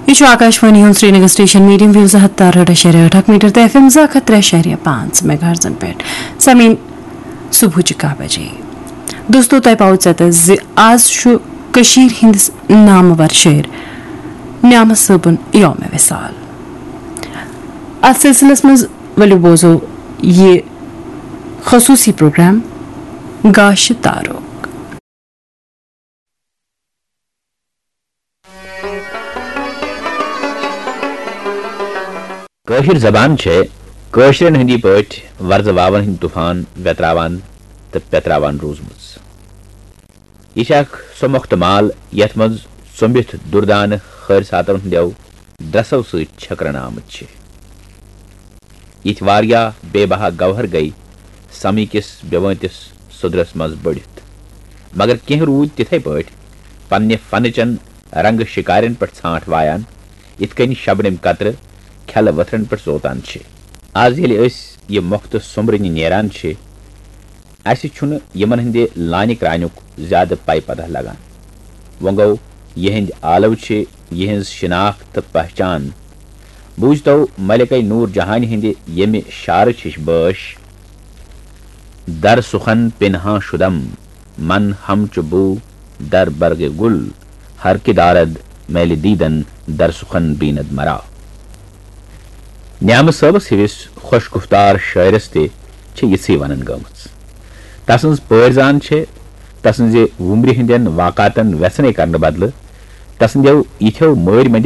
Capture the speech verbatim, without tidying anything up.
یہِ چھُ آکاشوانی ہُنٛد سرینگر سٹیشن، میڈیم ویو زٕ ہتھ تہٕ ارہٲٹھ اَشاریہ ٲٹھ اکھ میٹر تہٕ ایف ایم زٕ ہتھ تہٕ ترٛےٚ اَشاریہ پانٛژھ میگا ہرٹزن پٮ۪ٹھ۔ سمیٖن، صبحٕچہِ کاہ بجے۔ دوستو، تۄہہِ پاوٕ ژٮ۪تس زِ آز چھُ کٔشیٖرِ ہٕنٛدِس نامور شٲعر نعمت صٲبُن یوم وصال۔ اتھ سلسلس منٛز ؤلِو بوزو یہِ خصوٗصی پروگرام گاشہِ تارُک۔ کٲشِر زبان چھےٚ کٲشرٮ۪ن ہٕنٛدی پٲٹھۍ وۄرزٕ واوَن ہٕنٛدۍ طوفان وٮ۪تراوان تہٕ پٮ۪تراوان روٗزمٕژ۔ یہِ چھےٚ اکھ سۄ مۄختہٕ مال یَتھ منٛز ژوٚمبِتھ دُردانہٕ خٲرۍ ساتن ہٕنٛدٮ۪و درٛسو سۭتۍ چھٔکرنہٕ آمٕتۍ چھِ۔ یِتھۍ واریاہ بے بہا گوہر گٔیۍ سمی کِس بے وٲنٛتِس سُدرس منٛز بٔڑِتھ، مگر کینٛہہ روٗدۍ تِتھے پٲٹھۍ پننہِ فنہٕ چٮ۪ن رنگہٕ شِکارٮ۪ن پٮ۪ٹھ ژھانٛٹھ وایان، یِتھ کٔنۍ شبنم قطرٕ کھٮ۪لہٕ ؤتھرن پٮ۪ٹھ زوتان چھِ۔ از ییٚلہِ أسۍ یہِ مۄختہٕ سوٚمبرٕنہِ نیران چھِ، اسہِ چھُنہٕ یِمن ہٕنٛدِ لانہِ کرٛانیُک زیادٕ پے پتہ لگان۔ وۄنۍ گوٚو، یِہنٛدۍ آلو چھِ یِہنٛز شناخت تہٕ پہچان۔ بوٗزتو ملکہ نور جہانہِ ہٕنٛدِ ییٚمہِ شعرٕچ ہِش بٲش، در سخن پنہاں شدم، من ہم چو بو در برگ گل، ہر کہ دارد میل دیدن در سخن بیند مرا۔ نعمت صٲبس ہِوِس خۄش گُفتار شٲعرس تہِ چھِ یِژھٕے ونان گٔمٕژ۔ تسٕنز پٲرۍ زان چھِ تسٕنزِ وُمرِ ہٕندٮ۪ن واقعاتن وٮ۪ژھنے کرنہٕ بدلہٕ تسٕندٮ۪و یِتھٮ۪و مٲرۍ مٔنٛدٮ۪و